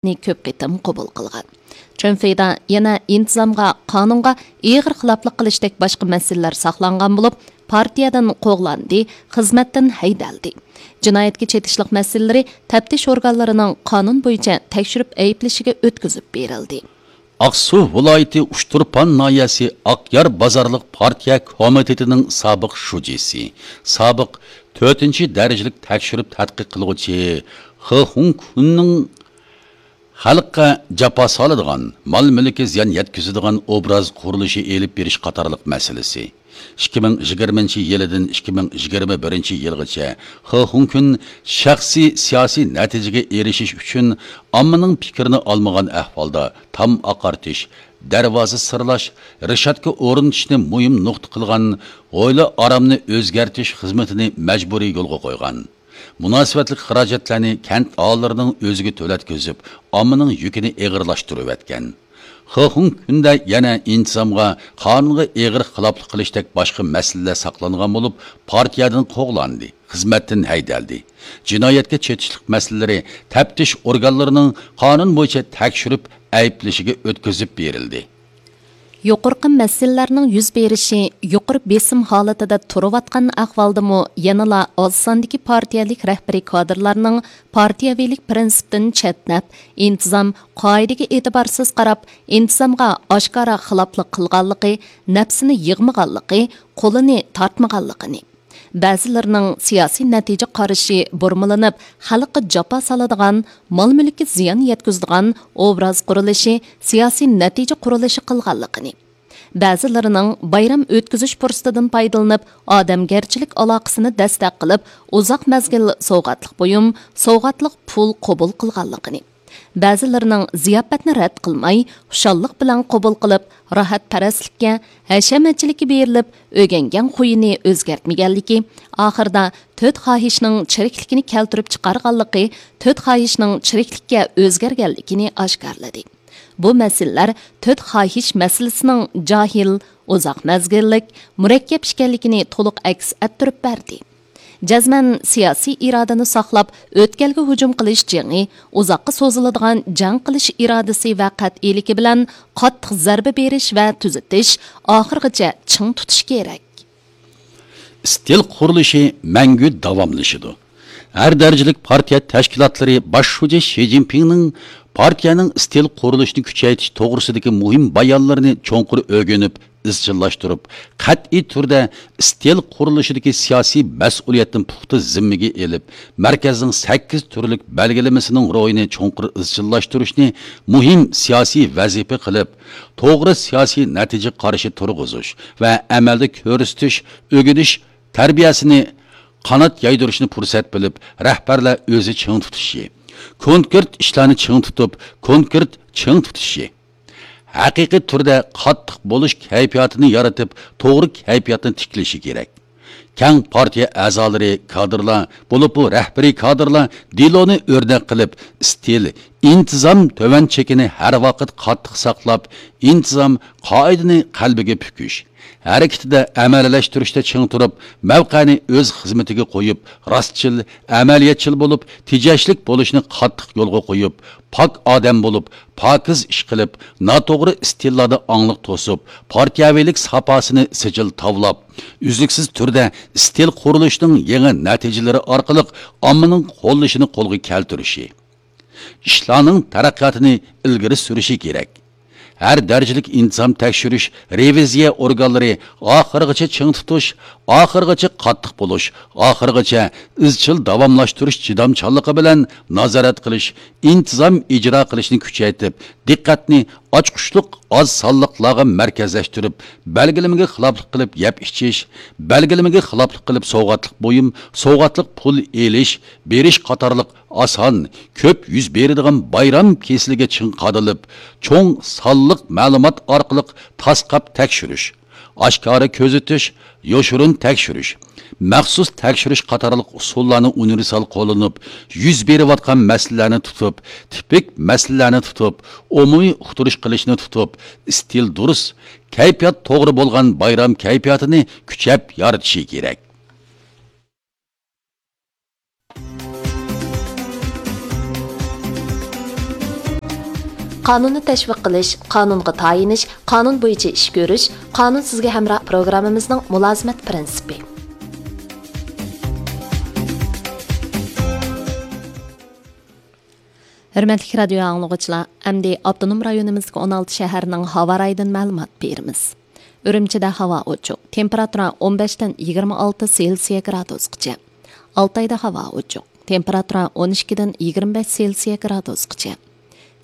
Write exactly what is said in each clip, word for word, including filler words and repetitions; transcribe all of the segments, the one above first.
كۆپ قېتىم قوبۇل قىلغان. چېن فېيدا يەنە ئىنتىزامغا، قانۇنغا ئېغىر خىلاپلىق قىلىشتەك باشقا مەسىلىلەر ساقلانغان بولۇپ، پارتىيەدىن قوغلاندى، خىزمەتتىن ھەيدەلدى. جىنايەتكە چېتىشلىق مەسىلىلىرى تەپتىش ئورگانلىرىنىڭ قانۇن بويىچە تەكشۈرۈپ ئەيىبلىشىگە ئۆتكۈزۈپ بېرىلدى. ئاقسۇ ۋىلايىتى ئۇچتۇرپان ناھىيەسى ئاقيار بازارلىق پارتىيە كومىتېتىنىڭ سابىق شۇجىسى، سابىق تۆتىنچى دەرىجىلىك تەكشۈرۈپ تەتقىق قىلغۇچى خې خۇڭكۈننىڭ خەلققە جاپا سالىدىغان، مال-مۈلكىگە زىيان يەتكۈزىدىغان ئوبراز قۇرۇلۇشى ئېلىپ بېرىش قاتارلىق مەسىلىسى، ئىككى مىڭ يىگىرمىنچى يىلىدىن ئىككى مىڭ يىگىرمە بىرىنچى يىلغىچە خې خۇڭكۈن شەخسىي سىياسىي نەتىجىگە ئېرىشىش ئۈچۈن ئاممىنىڭ پىكرىنى ئالمىغان ئەھۋالدا تام ئاقارتىش، دەرۋازا سىرلاش، رېشاتكا ئورنىتىشنى مۇھىم نۇقتا قىلغان ھويلا ئارامنى ئۆزگەرتىش خىزمىتىنى مەجبۇرىي يولغا قويغان. مۇناسىۋەتلىك خىراجەتلەرنى كەنت ئاھالىلىرىنىڭ ئۆزىگە تۆلەتكۈزۈپ، ئاممىنىڭ يۈكىنى ئېغىرلاشتۇرۇۋەتكەن. خې خۇڭكۈندە يەنە ئىنتىزامغا، قانۇنغا ئېغىر خىلاپلىق قىلىشتەك باشقا مەسىلىلەر ساقلانغان بولۇپ، پارتىيەدىن قوغلاندى، خىزمەتتىن ھەيدەلدى. جىنايەتكە چېتىشلىق مەسىلىلىرى تەپتىش ئورگانلىرىنىڭ قانۇن بويىچە تەكشۈرۈپ ئەيىبلىشىگە ئۆتكۈزۈپ بېرىلدى. يۇقىرىقى مەسىلىلەرنىڭ يۈز بېرىشى يۇقىرى بېسىم ھالىتىدە تۇرۇۋاتقان ئەھۋالدىمۇ يەنىلا ئاز ساندىكى پارتىيەلىك رەھبىرىي كادىرلارنىڭ پارتىيەۋىلىك پىرىنسىپتىن چەتنەپ، ئىنتىزام قائىدىگە ئېتىبارسىز قاراپ، ئىنتىزامغا ئاشكارا خىلاپلىق قىلغانلىقى، نەپسىنى يىغمىغانلىقى، قولىنى تارتمىغانلىقىنى، بەزىلىرىنىڭ سىياسىي نەتىجە قارىشى بۇرمىلىنىپ، خەلققە جاپا سالىدىغان، مال-مۈلۈككە زىيان يەتكۈزىدىغان ئوبراز قۇرۇلۇشى، سىياسىي نەتىجە قۇرۇلۇشى قىلغانلىقىنى، بەزىلىرىنىڭ بايرام ئۆتكۈزۈش پۇرسىتىدىن پايدىلىنىپ، ئادەمگەرچىلىك ئالاقىسىنى دەستەك قىلىپ، ئۇزاق مەزگىل سوۋغاتلىق بۇيۇم، سوۋغاتلىق پۇل قوبۇل قىلغانلىقىنى، بەزىلىرىنىڭ زىياپەتنى رەت قىلماي، خۇشاللىق بىلەن قوبۇل قىلىپ، راھەتپەرەسلىككە، ھەشەمەتچىلىككە بېرىلىپ، ئۆگەنگەن خۇيىنى ئۆزگەرتمىگەنلىكى، ئاخىرىدا تۆت خاھىشنىڭ چىرىكلىكىنى كەلتۈرۈپ چىقارغانلىقى، تۆت خاھىشنىڭ چىرىكلىككە ئۆزگەرگەنلىكىنى ئاشكارىلىدى. بۇ مەسىلىلەر تۆت خاھىش مەسىلىسىنىڭ جاھىل، ئۇزاق مەزگىللىك، مۇرەككەپ ئىكەنلىكىنى تولۇق ئەكس ئەتتۈرۈپ بەردى. جەزمەن سىياسىي ئىرادىنى ساقلاپ، ئۆتكەلگە ھۇجۇم قىلىش جېڭى، ئۇزاققا سوزۇلىدىغان جەڭ قىلىش ئىرادىسى ۋە قەتئىيلىكى بىلەن قاتتىق زەربە بېرىش ۋە تۈزىتىش، ئاخىرغىچە چىڭ تۇتۇش كېرەك. ئىستىل قۇرۇلۇشى مەڭگۈ داۋاملىشىدۇ. ھەر دەرىجىلىك پارتىيە تەشكىلاتلىرى باش شۇجى شى جىنپىڭنىڭ پارتىيەنىڭ ئىستىل قۇرۇلۇشىنى كۈچەيتىش توغرىسىدىكى مۇھىم بايانلىرىنى چوڭقۇر ئۆگىنىپ، ئىزچىللاشتۇرۇپ، قەتئىي تۈردە ئىستىل قۇرۇلۇشىدىكى سىياسىي مەسئۇلىيەتنى پۇختا زىممىگە ئېلىپ، مەركەزنىڭ سەككىز تۈرلۈك بەلگىلىمىسىنىڭ روھىنى چوڭقۇر ئىزچىللاشتۇرۇشنى مۇھىم سىياسىي ۋەزىپە قىلىپ، توغرا سىياسىي نەتىجە قارىشى تۇرغۇزۇش ۋە ئەمەلدە كۆرسىتىش، ئۆگىنىش تەربىيەسىنى قانات يايدۇرۇشنى پۇرسەت بىلىپ، رەھبەرلەر ئۆزى چىڭ تۇتۇشى، كونكرېت ئىشلارنى چىڭ تۇتۇپ، كونكرېت چىڭ تۇتۇشى، ھەقىقىي تۈردە قاتتىق بولۇش كەيپىياتىنى يارىتىپ، توغرا كەيپىياتنى تىكلىشى كېرەك. كەڭ پارتىيە ئەزالىرى، كادىرلار، بولۇپمۇ رەھبىرىي كادىرلار دېلونى ئۆرنەك قىلىپ، ئىستىل، ئىنتىزام تۆۋەن چېكىنى ھەر ۋاقىت قاتتىق ساقلاپ، ئىنتىزام قائىدىنى قەلبىگە پۈكۈش، ھەرىكىتىدە ئەمەلىيلەشتۈرۈشتە چىڭ تۇرۇپ، مەۋقەنى ئۆز خىزمىتىگە قويۇپ، راستچىل، ئەمەلىيەتچىل بولۇپ، تېجەشلىك بولۇشنى قاتتىق يولغا قويۇپ، پاك ئادەم بولۇپ، پاكىز ئىش قىلىپ، ناتوغرا ئىستىللاردا ئاڭلىق توسۇپ، پارتىيەۋىلىك ساپاسىنى سىجىل تاۋلاپ، ئۈزلۈكسىز تۈردە ئىستىل قۇرۇلۇشىنىڭ يېڭى نەتىجىلىرى ئارقىلىق ئاممىنىڭ قوللىشىنى قولغا كەلتۈرۈشى، ئىشلارنىڭ تەرەققىياتىنى ئىلگىرى سۈرۈشى كېرەك. ھەر دەرىجىلىك ئىنتىزام تەكشۈرۈش، رېۋىزىيە ئورگانلىرى ئاخىرغىچە چىڭ تۇتۇش، ئاخىرغىچە قاتتىق بولۇش، ئاخىرغىچە ئىزچىل داۋاملاشتۇرۇش چىدامچانلىقى بىلەن نازارەت قىلىش، ئىنتىزام ئىجرا قىلىشنى كۈچەيتىپ، دىققەتنى ئاچقۇچلۇق ئاز سانلىقلارغا مەركەزلەشتۈرۈپ، بەلگىلىمىگە خىلاپلىق قىلىپ يەپ ئىچىش، بەلگىلىمىگە خىلاپلىق قىلىپ سوۋغاتلىق بۇيۇم، سوۋغاتلىق پۇل ئېلىش، بېرىش قاتارلىق ئاسان، كۆپ يۈز بېرىدىغان بايرام كېسىلىگە چىڭ قادىلىپ، چوڭ سانلىق مەلۇمات ئارقىلىق تاسقاپ تەكشۈرۈش، ئاشكارا كۆزىتىش، يوشۇرۇن تەكشۈرۈش، مەخسۇس تەكشۈرۈش قاتارلىق ئۇسۇللارنى ئۇنىۋېرسال قوللىنىپ، يۈز بېرىۋاتقان مەسىلىلەرنى تۇتۇپ، تىپىك مەسىلىلەرنى تۇتۇپ، ئومۇمىي ئۇقتۇرۇش قىلىشنى تۇتۇپ، ئىستىل دۇرۇس، كەيپىيات توغرا بولغان بايرام كەيپىياتىنى كۈچەپ يارىتىشى كېرەك. قانۇننى تەشۋىق قىلىش، قانۇنغا تايىنىش، قانۇن بويىچە ئىش كۆرۈش، قانۇن سىزگە ھەمراھ پروگراممىمىزنىڭ مۇلازىمەت پىرىنسىپى. ھۆرمەتلىك رادىيو ئاڭلىغۇچىلار، ئەمدى ئاپتونوم رايونىمىزدىكى ئون ئالتە شەھەرنىڭ ھاۋا رايىدىن مەلۇمات بېرىمىز. ئۈرۈمچىدە ھاۋا ئوچۇق، تېمپېراتۇرا ئون بەشتىن يىگىرمە ئالتە سېلسىيە گرادۇسقىچە. ئالتايدا ھاۋا ئوچۇق، تېمپېراتۇرا ئون ئىككىدىن يىگىرمە بەش سېلسىيە گرادۇسقىچە.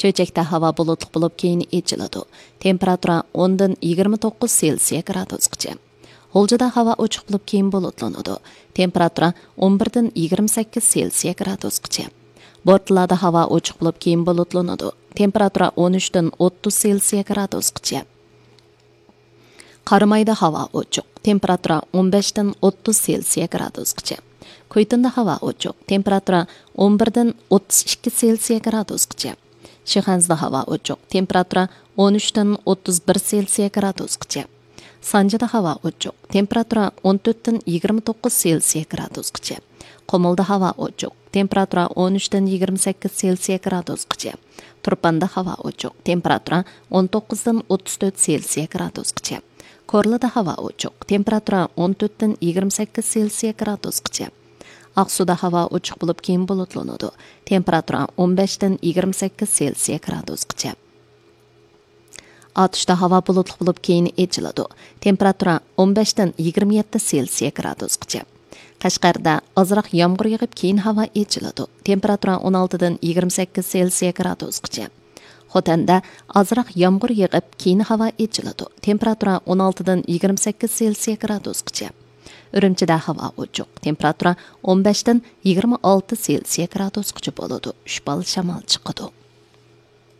چۆچەكتە ھاۋا بۇلۇتلۇق بولۇپ، كېيىن ئېچىلىدۇ. تېمپېراتۇرا ئوندىن يىگىرمە توققۇز سېلسىيە گرادۇسقىچە. غۇلجىدا ھاۋا ئوچۇق بولۇپ، كېيىن بۇلۇتلىنىدۇ. تېمپېراتۇرا ئون بىردىن يىگىرمە سەككىز سېلسىيە گرادۇسقىچە. بورتالادا ھاۋا ئوچۇق بولۇپ، كېيىن بۇلۇتلىنىدۇ. تېمپېراتۇرا ئون ئۈچتىن ئوتتۇز سېلسىيە گرادۇسقىچە. قارامايدا ھاۋا ئوچۇق، تېمپېراتۇرا ئون بەشتىن ئوتتۇز سېلسىيە گرادۇسقىچە. كۇيتىندا ھاۋا ئوچۇق، تېمپېراتۇرا ئون بىردىن ئوتتۇز ئىككى سېلسىيە گرادۇسقىچە. شىخەنزىدە ھاۋا ئوچۇق، تېمپېراتۇرا ئون ئۈچتىن ئوتتۇز بىر سېلسىيە گرادۇسقىچە. سانجىدا ھاۋا ئوچۇق، تېمپېراتۇرا ئون تۆتتىن يىگىرمە توققۇز سېلسىيە گرادۇسقىچە. قۇمۇلدا ھاۋا ئوچۇق، تېمپېراتۇرا ئون ئۈچتىن يىگىرمە سەككىز سېلسىيە گرادۇسقىچە. تۇرپاندا ھاۋا ئوچۇق، تېمپېراتۇرا ئون توققۇزدىن ئوتتۇز تۆت سېلسىيە گرادۇسقىچە. كورلىدا ھاۋا ئوچۇق، تېمپېراتۇرا ئون تۆتتىن يىگىرمە سەككىز سېلسىيە گرادۇسقىچە. ئاقسۇدا ھاۋا ئوچۇق بولۇپ، كېيىن بۇلۇتلىنىدۇ. تېمپېراتۇرا ئون بەشتىن يىگىرمە سەككىز سېلسىيە گرادۇسقىچە. ئاتۇشتا ھاۋا بۇلۇتلۇق بولۇپ، كېيىن ئېچىلىدۇ. تېمپېراتۇرا ئون بەشتىن يىگىرمە يەتتە سېلسىيە گرادۇسقىچە. قەشقەردە ئازراق يامغۇر يېغىپ، كېيىن ھاۋا ئېچىلىدۇ. تېمپېراتۇرا ئون ئالتىدىن يىگىرمە سەككىز سېلسىيە گرادۇسقىچە. خوتەندە ئازراق يامغۇر يېغىپ، كېيىن ھاۋا ئېچىلىدۇ. تېمپېراتۇرا ئون ئالتىدىن يىگىرمە سەككىز سېلسىيە گرادۇسقىچە. ئۈرۈمچىدە ھاۋا ئوچۇق. تېمپېراتۇرا ئون بەشتىن يىگىرمە ئالتە سېلسىيە گرادۇسقىچە بولىدۇ. ئۈچ بال شامال چىقىدۇ.